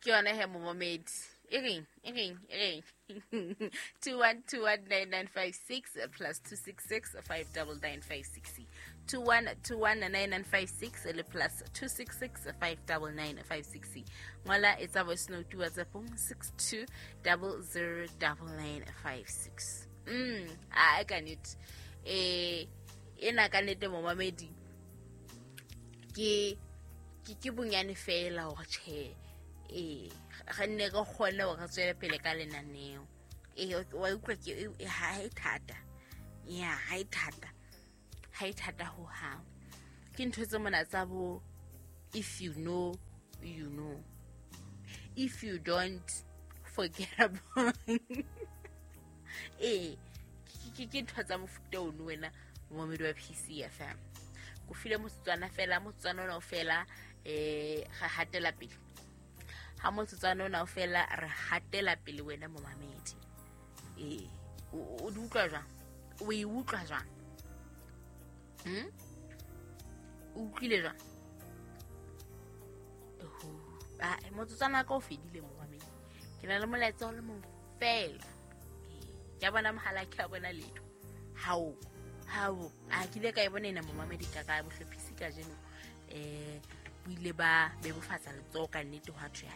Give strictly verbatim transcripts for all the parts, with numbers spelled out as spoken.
Ke yona he momamedi. E reng, e reng, e reng. two one two one nine nine five six plus two six six five double nine five six. two one two one nine nine five six le plus two six six five double nine five six. Ngola etsa voice note WhatsApp six two double zero double nine five six. Mm, a ka nnete. Eh ena ka nnete momamedi. Ke ke ke bonyane fela hore tjhe. Eh re nne re kgone hore re tswele pele ka lenaneo. Eh wa utlwa ke ha e thata. Ya ha e thata. Ha e thata ho hang. Ke ntho tse mona tsa bo if you know, you know. If you don't, forget about. Eh ke ke ntho tsa mofuta ono wena momamedi wa P C F M. Ko file motsotswana fela, motsotswana ona o fela eh re hatela pele. Ha motsotswana ona o fela re hatela pele wena momamedi. Eh o di utlwa jwang? O e utlwa jwang? Hmm? O utlwile jwang? Oho, ah motsotswana ka o fedile momamedi. Ke na le molaetsa o le mong fela. Ke a bona mohala, ke a bona letho. Hao, hao, a ke ile ka e bona ena momamedi ka ka bohlophisi kajeno. Eh bo ile ba bebofatsa letsoho ka nnete hwa thwe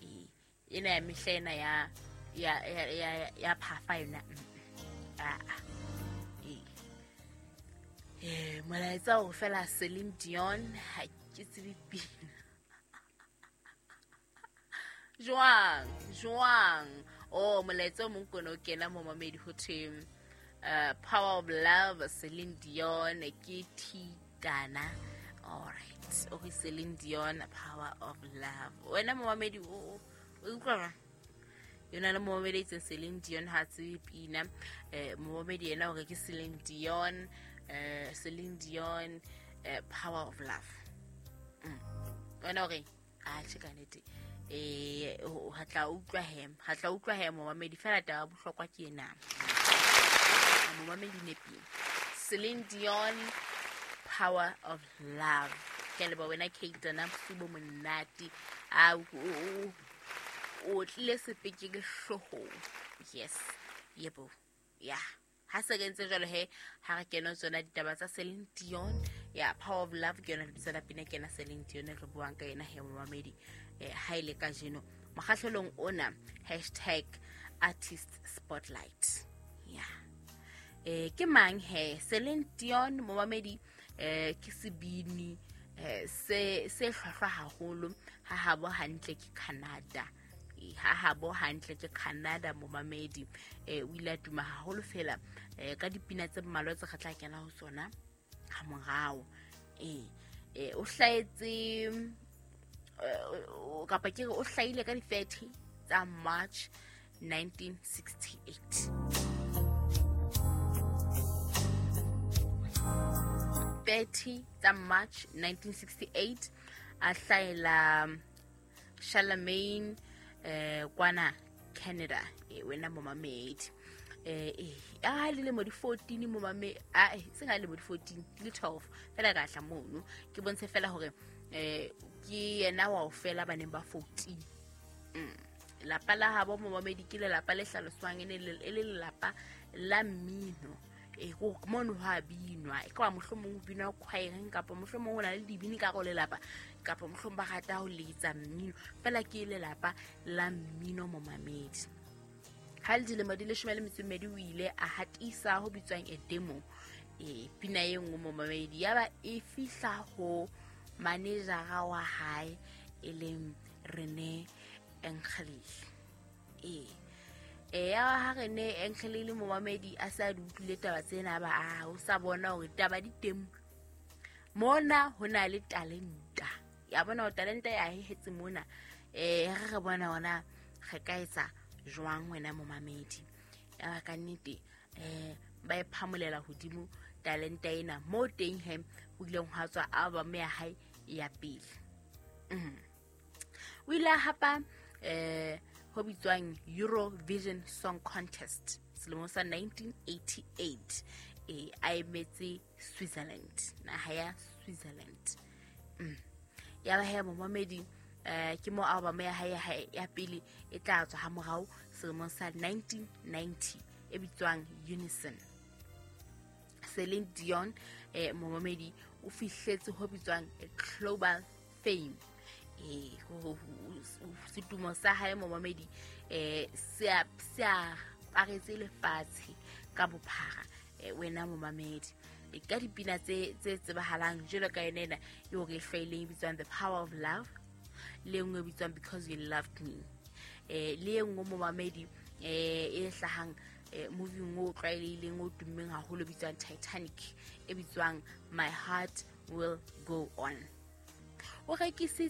eh ena ya mehla ena ya ya ya ya phafa yona. Ah eh eh molaetsa o fela Celine Dion ha ke tsebe pina. Jwang, jwang. Oh molaetsa o mong kono kena momamedi ho thwe uh, Power of Love Celine Dion ke Thitana. All right. Okay, Celine Dion Power of Love. Wena momamedi o o utlwa yona le momamedi itse Celine Dion ha tsebe pina. Eh momamedi yena o re ke Celine Dion, eh Celine Dion eh, Power of Love. Mm. Wena o re a tjhe ka nnete. Eh ha tla utlwa hem, ha tla utlwa hem momamedi fela taba bohlokwa ke ena. Momamedi nepile. Celine Dion Power of Love. Ke le ba wena Kate na bosibo monate. A o tlile sepeke ke hlohong. Yes. Yebo. Yeah. Ha se kentse jwalo he ha re kena tsona ditaba tsa Celine Dion ya Power of Love ke yona lebitso la pina kena Celine Dion re buang ka yena he momamedi. Eh ha ile ka jeno mokgahlelong ona hashtag artist spotlight. Yeah. Eh ke mang he Celine Dion momamedi eh ke sebini eh se se hlwahlwa haholo ha habo hantle ke Canada. Ha habo hantle ke Canada momamedi. Eh o ile a tuma haholo fela eh ka dipina tse mmalwa tse re tla kena ho tsona ha morao. Eh eh o hlaetse kapa ke o hlaile ka di thirty tsa March nineteen sixty-eight. thirty tsa March nineteen sixty-eight a hlaela Charlemagne eh kwana Canada. Eh wena momamedi eh eh a le lemo di fourteen momame a se nga le mo di fourteen le twelve fela ka hla mono ke bontshe fela hore eh ke yena wa o fela baneng ba fourteen. Mm. Lapa la habo momamedi ke lelapa le hlaloswang e le lelapa la mmino. E go mono ha binwa e ka mohlomong o binwa choireng kapa mohlomong o na le dibini ka go lelapa kapa mohlomong ba rata ho letsa mmino fela ke lelapa la mmino momamedi. Ha le dilemo di leshome le metso e mmedi o ile a hatisa ho bitswang a demo e pina e nngwe momamedi ya ba e fihla ho manejara wa hae e leng Rene Engelil. E e ya ha Rene Engelil momamedi a sa di utlwile taba tsena ba a o sa bona hore taba di teng mona ho na le talenta. Ya bona o talenta ya hehetse mona. Eh re re bona ona re ka etsa jwang wena momamedi. Ya ka nnete eh ba e phamolela hodimo talenta ena mo teng he ho ileng hwa tswa album ya hae ya pele. Mm. O ile hapa eh ho bitswang Eurovision Song Contest selemong sa nineteen eighty-eight. Eh a emetse Switzerland, naha ya Switzerland. Mm. Ya ba he momamedi Eh ke mo album ya hae ya pele e tla tswa ha morao selemong sa nineteen ninety e bitswang Unison. Celine Dion eh momamedi o fihletse ho bitswang global fame. Eh setumo sa hae momamedi eh se a se a paretse lefatshe ka bophara wena momamedi. E ka dipina tse tse tsebahalang jwalo ka yona ena eo re hlwaileng e bitswang The Power of Love, le nngwe e bitswang Because You Loved Me, eh le e nngwe momamedi eh e hlahang movie o tlwaelehileng o tummeng haholo bitswang Titanic e bitswang My Heart Will Go On. O rekisitse